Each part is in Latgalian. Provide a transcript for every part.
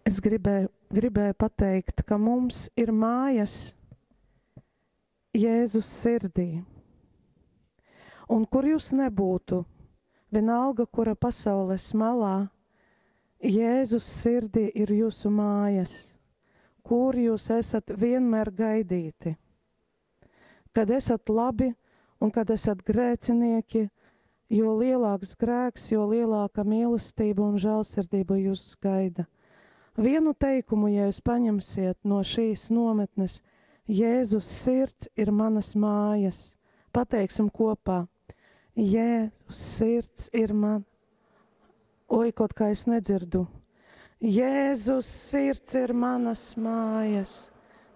Es gribēju, gribēju pateikt, ka mums ir mājas Jēzus sirdī. Un kur jūs nebūtu, vienalga, kura pasaules malā, Jēzus sirdī ir jūsu mājas, kur jūs esat vienmēr gaidīti. Kad esat labi un kad esat grēcinieki, jo lielāks grēks, jo lielāka mīlestība un žēlsirdība jūs gaida. Vienu teikumu, ja jūs paņemsiet no šīs nometnes, Jēzus sirds ir manas mājas. Pateiksim kopā. Jēzus sirds ir man. Oi, kaut kā es nedzirdu. Jēzus sirds ir manas mājas.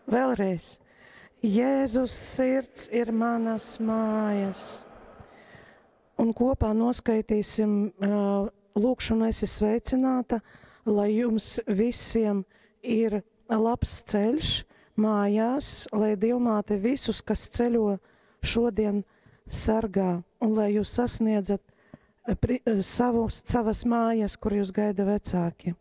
Vēlreiz. Jēzus sirds ir manas mājas. Un kopā noskaitīsim uh, lūkšanu esi sveicināta, lai jums visiem ir labs ceļš mājās, lai Dievmāte visus, kas ceļo šodien, sargā un lai jūs sasniedzat eh, pri, eh, savus, savas mājas, kur jūs gaida vecāki.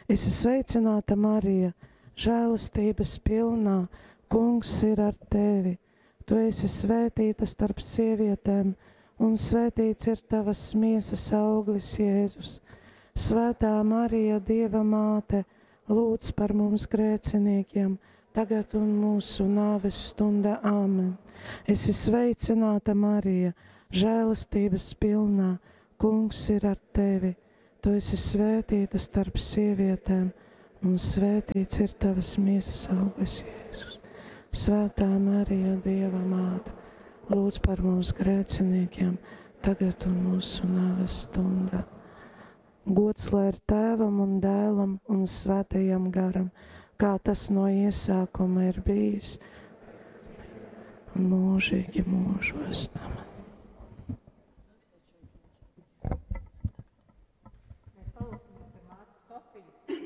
Esi sveicināta, Marija, žēlastības pilnā, kungs ir ar tevi. Tu esi svētīta starp sievietēm, un svētīts ir tavas miesas auglis, Jēzus. Svētā Marija, Dieva māte, lūdz par mums grēciniekiem, tagad un mūsu nāves stundā. Āmen. Esi sveicināta, Marija, žēlastības pilnā, kungs ir ar tevi. Tu esi svētīta starp sievietēm, un svētīts ir tavas miesas auglis, Jēzus. Svētā Marija, Dieva māte, lūdz par mums grēciniekiem, tagad un mūsu nāves stundā. Gods lai ir tēvam un dēlam un svētajam garam, kā tas no iesākuma ir bijis, un mūžīgi mūžos. Amen. Mēs palūksimies par māsu Sofiju.